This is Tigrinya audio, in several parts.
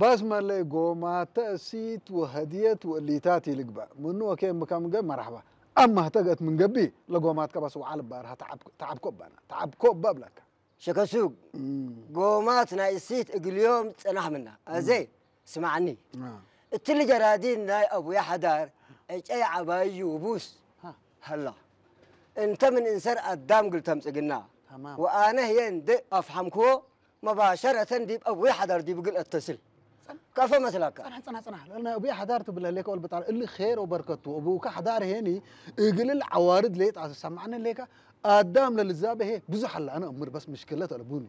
ባስ መለይ ጎማተ እሲት ወሀድየት ወእሊታት ይልግበእ። ምኑ ወኬ ምከምገ መራሕባ። ኣማ ህተገት ምን ገቢ ለጎማትከ በስ ወዓል ባርሃ ተዓብ-፣ ተዓብኮ ባና። ተዓብኮ እባ ብለካ። ሸከሱግ፣ እም። ጎማት ናይ እሲት እግልዮም ጽናሕ ምና። ኣዘይ፣ ስማዕኒ። አ። እትሊ ጀራዲን ናይ ኣቡያ ሓዳር፣ ዕጨይ ዓባዩ ውቡስ። ሃ። ሃላ። እንተ ምን እንሰር ኣዳም ግል ተምጽግና። ተማም። ወኣነ ህየ እንደ ኣፍሓምክዎ፣ መባሸረተን ዲብ ኣቡያ ሓዳር ዲብ ግል እተስል። ጸን-፣ ከፈ መስላካ። ጸናሕ፣ ጸናሕ፣ ጸናሕ። ለና ኣቡያ ሓዳር ትብለ ሌካ ወልበጣል። እሊ ኼር ወበርከቱ። ኣቡካ ሓዳር ሄኒ፣ እግልል ዓዋርድ ሌጣ ሰማዕነ ሌካ። ኣዳም ለልዛበ ሄ ብዙሕ ኣላ። ኣነ እምር በስ ምሽክለት ኣለ ቡኒ።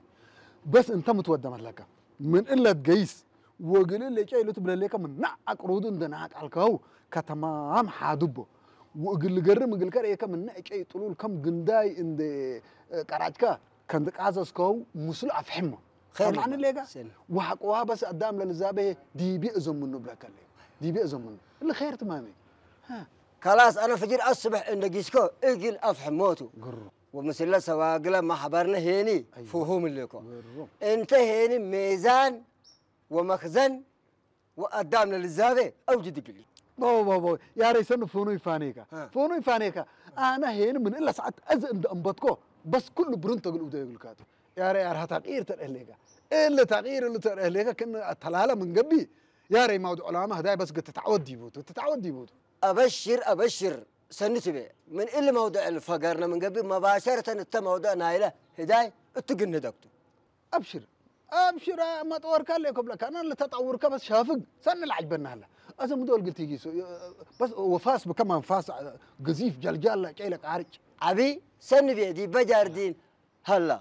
በስ እንተ ምትወደ መለካ። ምን እለት ገይስ። ወግልል ሌጫ ኢሉ ትብለ ሌካ ምን ናዕ ኣቅሩዱ እንደ ናቅ ኣልካው። ከተማም ሓዱቦ። ወእግል ገርም እግል ከርእየካ ምን ናዕ ጨይ ጥሉል ከም ግንዳይ እንደ ቀራጭካ። ከንዲ ቃዘዝከው ምስሉ ኣፍሕሞ። ኸይር ሰማዕኒ ይባል። ሌጋ? ሰን። ወሓቅዋ በስ ኣዳም ለልዛቤ ዲቢ እዘምኑ ብለከለ። ዲቢ እዘምኑ። እሊ ኸይር ትማሚ። ሃ። ካላስ ኣነ ፍጅር ኣስብሕ እንደ ጊስኮ እግል ኣፍሕሞቱ። ግሩ። ወምስለ ሰዋግለ ማሕበርነ ሄኒ ኣይዋ። ፍሁም እልኮ። ግሩ። እንተ ሄኒ ሜዛን ወመኽዘን ወኣዳም ለልዛቤ ኣውጅ ድግሊ። ቦ፣ ቦ፣ ቦ፣ ያረይ ሰኑ ፎኑ ይፋኔካ። አ። ፎኑ ይፋኔካ። ኣነ ሄን ምን እላ ሰዓት ኣዝ እንደ እምበትኮ፣ በስ ኩሉ ብሩን ተግል ውደ ይግልካቱ። ያረ ያር ሃታቂር ተርእሌካ። እለ ታቂር እሉ ተርእሌካ፣ ክን ኣተላለ ምን ገቢ። ያረይ ማውድ ዑላማ ህዳይ በስ ግት ተዓወድ ይቡቱ፣ ተዓወድ ይቡቱ። ኣበሽር፣ ኣበሽር፣ ሰኑ ትቤ። ምን እል መውድዕ ልፈገርነ ምን ገቢ፣ መባሸርተን እተ መውድዕ ናይለ ህዳይ እትግንደግቱ። أبشر، أبشر، ما طورك اللي قبلك، أنا اللي تطورك بس شافق، سن العجب النهلة. أزم دول قلت يجي سو-، بس وفاس بكمان فاس قذيف جلجال، جاي لك عارج. عبي، سن بيدي بجاردين. هلا.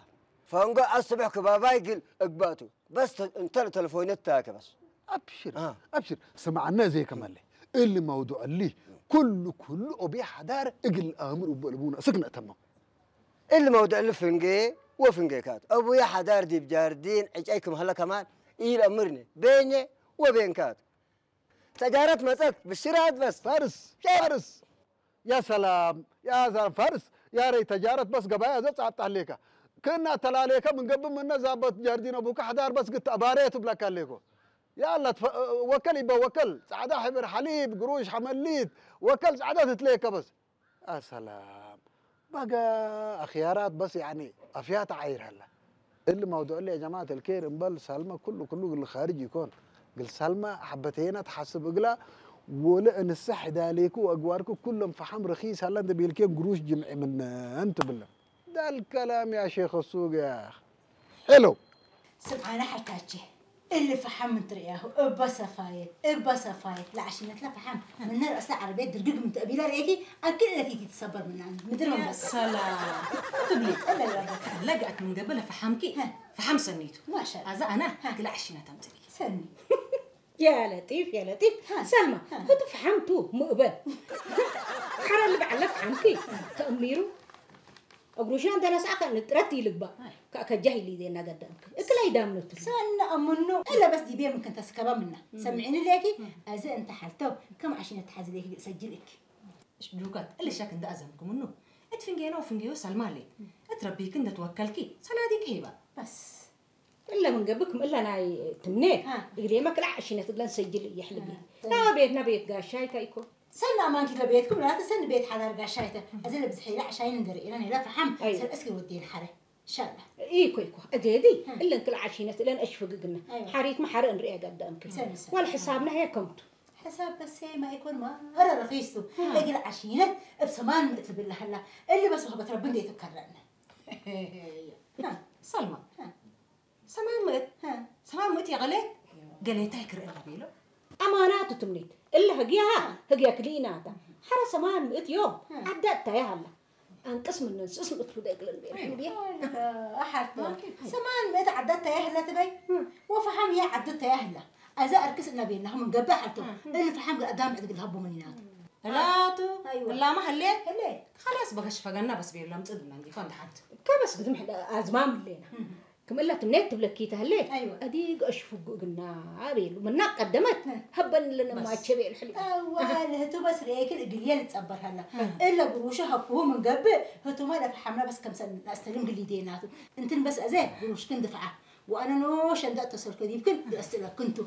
فانقو الصبح كباباي قل اقباتو. بس ت-، انت التلفون التاكي بس. أبشر، آه. أبشر. سمعنا زي كمان لي. اللي موضوع اللي كل، كل أبي حدار اقل الأمر وبلبونا. سكنة تمام. እል መውድዕ ልፍንጌ ወፍንጌካት። ኣቡየ ሓዳር ዲብ ጃርዲን ዕጨይ ክም ሀለ ከማን ኢለእምርኒ። ቤኘ ወቤንካት። ተጃረት መጸት ብሽራት በስ። ፋርስ፣ ሸር። ፋርስ። ያ ሰላም፣ ያ ሰላም ፋርስ። ያ ረይ ተጃረት በስ ገባያ ዘ ጻብጣ ሌካ። ክና ተላሌከ ምን ገብእ ምነ ዛበት ጃርዲን ኣቡከ ሓዳር በስ ግት ኣባሬ ትብለካ ሌኮ። ያላ ትፈ-፣ ወከል ይበ ወከል። ጻዕዳ ሕብር ሓሊብ፣ ግሩሽ ሓመሊት። ወከል ጻዕዳ ትትሌከ በስ። ኣሰላም። በጋ ኣኽያራት በስ ያኒ ኣፍያት ዓይር ሀላ። እል መውዱዕ ያ ጀማዓት الخير እምበል ሳልማ ኩሉ ኩሉ ግል ኻርጅ ይኮን። ግል ሳልማ ሐበተየና ተሓስብ እግላ ወለ እንሰ ሕዳሌኩ ወኣግባርኩ ኩሎም ፈሓም ረኺስ ሀላ እንደ ቤልኬን ግሩሽ ጅምዒ ምነን ትብለ። ዳል ከላም ያ ሼኽ ሱቅ ያ። ሄሎ። ስምዓና ሓታቼ፣ እሊ ፈሓም እንትርእያሁ፣ እባ ሰፋየት፣ እባ ሰፋየት፣ ለዓሽነትላ ፈሓም፣ ምነ ርእስላ ዓረብየት ድርግግ ምንተ እቢላ ርእየኪ፣ ኣክል እለኪ ትሰበር ምናን፣ ምድሪ መንበስ። ሰላም። ትብሊ። እለ ይረዳት። ለግኣት ምን ገበለ ፈሓምኪ፣ ሀ። ፈሓም ሰኒቱ። ማሻ ኣዛ ኣና፣ ሀ። ግላ ዓሽነት ኣምጽሊ። ሰኒ። يا لطيف، يا لطيف. ها. سلمى، ها. هدو فحمتو مقبل. حرام بعلف عنكي. تأميرو. أقروشنا عندنا ساعة كان نترتي لقبا. هاي. كأكجاه اللي دينا قدامك. إكلا يدامنو تلو. سن أمنو. إلا بس دي بيه ممكن تسكبا منا. سمعيني ليكي؟ أزا أنت حالتو. كم عشان تحازي ليكي سجلك. ዱጋት እሊ ሸክ እንዳ ኣዘምኩም እኑ። እት ፍንጌኖ ፍንጌዮ ሰልማሌ። እት ረቢክ እንደ ትወከልኪ ሰላዲክ ሄባ። በስ። እለ ምን ገብክም እለ ናይ ትምኔ። ሃ። እግዴ መክላዕ ሽነት እግለን ሰጅል እየሕልቢ። ሃ። ና ቤት ና ቤት ጋሻይ ታይኮ። ሰና ማንኪ ለቤትኩም ላተ ሰን ቤት ሓዳር ጋሻይተ። እዚ ለብዝሒ ላ ዕሻይን እንደር ኢለን ኢላ ፈሓም። ኣይ። ሰብ እስኪ ወዴን ሓረ። ሻላ። ኢኮ ኢኮ። እዴዲ ሃ። እለን ክላዕ ሽነት እለን እሽፍግግና። ኣይዋ። ሓሪት መሓረ እንርእያ ጋዳምክን። ሰን ሰን። ዋል ሕሳብና ሄ ከምቱ። ሕሳብ በሴ ማይኮን ማረ ረኺሱ። ሃ። እግል ዓሽነት እብ ሰማን ምእት ልብል ለሀላ። እሊ በስ ወህበት ረቢ እንዴ ትከረነ። ሃ። ሰልማ። ሃ። ሰማን ምእት? ሃ። ሰማን ምእት የቐሌ? ገሌታይ ክርኢ ለቤሎ? ኣማናቱ ትምኒት። እሊ ህግያሃ፣ ሃ። ህግያ ክልኢናታ። ሓረ ሰማን ምእት ዮም። ሃ። ዓዳት ታያ ሃላ። ኣንቅስ ምነን ስእስ ምእት ፉደ እግለን ቤል። ኣይ። እንዴ? ኣሓርተ። ማኪ። ሰማን ምእት ዓዳት ታያ ህላ ትበይ? ሃ። ወፈሓም ያ ዓዳት ታያ ህላ። ኣዛ ኣርክስ እና ቤልናሁ ምን ገብእ ሓልቶ። እህ። እሊ ፈሓም ገ ኣዳም ዕድግ ልሃቦ ምን ይናቱ። እላቱ፣ ኣይዋ። እላማ ህሌ? ህሌ። ኸላስ በገሽ ፈገና በስ ቤሎም ጽድና እንዲኮ እንደ ሓንቲ። ከበስ ግዝም ሕዳ ኣዝማም ህሌና። እህ። ክም እላ ትምኔት ትብለኪ ተህሌ? ኣይዋ። ኣዲግ ኣሽፉጉ እግና ኣቤሉ። ምና ቀደመት እህ። ሀበን ለነ በስ። ማቸ ቤል ሕሊ። ኣዋ፣ ለህቱ በስ ሬክል እግልየ ልጸበር ሀላ። እህ። እለ ብሩሸ ሀብኩሁ ምን ገብእ፣ ህቱማ ለፈሓምና በስ ከምሰል ናስተልም ግሊዴናቱ። እንትን በስ ኣዘ ብሩሽክን ድፍዓ። ወኣነ ኖሽ እንደ እተሰልከ ዲብክን ደስ ለክንቱ።